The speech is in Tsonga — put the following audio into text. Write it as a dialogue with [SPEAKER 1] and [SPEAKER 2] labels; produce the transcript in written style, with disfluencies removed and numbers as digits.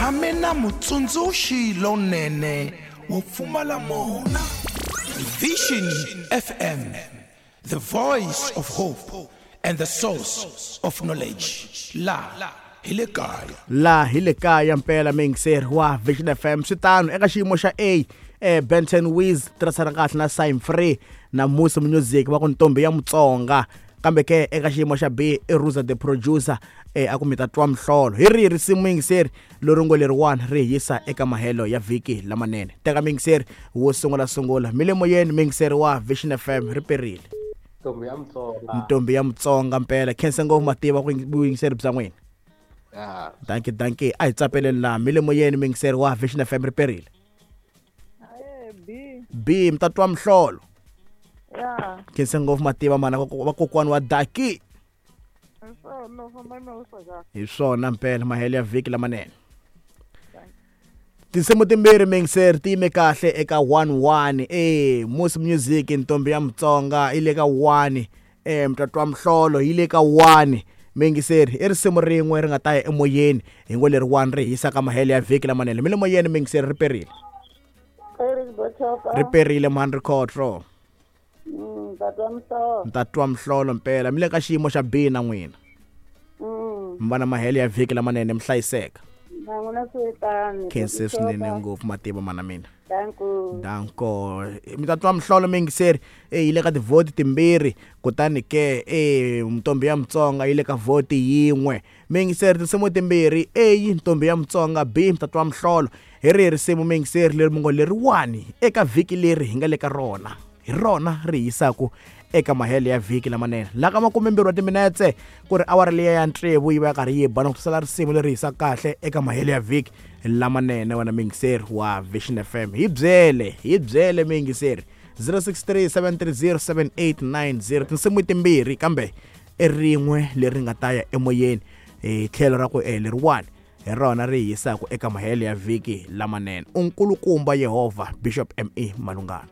[SPEAKER 1] tshame na mutsundzuxi lonene wo pfumala mona. Vision FM, the voice of hope and the source of knowledge. La hi le kaya.
[SPEAKER 2] La hi le kaya mpela muyingiseri wa Vision FM. Swi tano eka xiyimo xa A, Benton Wiz tirhisana kahle na Sign Free na Musi Music va ku Ntombi ya Mutsonga. Kambe ke eka xiyimo xa B i Ruza the producer, a ku mi ta twa mihlolo. Hi rihi risimu muyingiseri leri ngo leriwani ri hi yisa eka mahelo ya vhiki lamanene? Teka muyingiseri wo sungula sungula mi le moyeni muyingiseri wa Vision FM ri perile.
[SPEAKER 3] Ntombi ya Mutsonga.
[SPEAKER 2] Ntombi ya Mutsonga mpela. Khensa ngopfu mativa ku vuyingiseri bya n'wina.
[SPEAKER 3] Ya.
[SPEAKER 2] Dankie, dankie. A hi tsapeleni laha mi le moyeni muyingiseri wa Vision FM ri perile.
[SPEAKER 4] Aye, B.
[SPEAKER 2] B mi ta twa mihlolo.
[SPEAKER 4] Ya.
[SPEAKER 2] Khensa ngopfu mativa mana vakokwani wa Daki.
[SPEAKER 4] Hi swona, famba na wisa kahle.
[SPEAKER 2] Hi swona mpela mahelo ya vhiki lamanene. Tinsimu timbirhi muyingiseri ti yime kahle eka 1-1. Musi Music Ntombi ya Mutsonga yi le ka 1. Mtatwa Mihlolo yi le ka 1. Muyingiseri i risimu rin'we ri nga ta ya emoyeni hi ngo leri 1 ri hisa ka mahelo ya vhiki lamanene. Mi le moyeni muyingiseri ri perile. Ri perile mhani Rikhotlo.
[SPEAKER 4] Ntatwa Mihlolo.
[SPEAKER 2] Ntatwa Mihlolo mpela. Mi le ka xiyimo xa B na n'wina. Mi va na mahelo ya vhiki lamanene mi hlayiseka.
[SPEAKER 4] Na n'wina swi tano.
[SPEAKER 2] Khense swinene ngopfu mativa mana mina.
[SPEAKER 4] Danko.
[SPEAKER 2] Danko. Mi ta twa mihlolo muyingiseri yi le ka tivhoti timbirhi kutani ke Ntombi ya Mutsonga yi le ka vhoti yin'we. Muyingiseri tinsimu timbirhi A Ntombi ya Mutsonga B mi ta twa mihlolo. Hi rihi risimu muyingiseri leri mi ngo leriwani eka vhiki leri hi nga le ka rona? Hi rona ri hisaku eka mahelo ya vhiki lamanene. La ka makumembirhi wa timinetse ku ri awara liya ya tsevu yi va ya karhi yi ba na ku sala risimu leri hisaka kahle eka mahelo ya vhiki lamanene. Wena muyingiseri wa Vision FM, hi byele, hi byele muyingiseri 063-730-7890. Tinsimu timbirhi kambe i rin'we leri nga ta ya emoyeni hi tlhelo ra ku leriwani hi rona ri hisaku eka mahelo ya vhiki lamanene. U nkulukumba Yehovha, Bishop M.E. Malungana.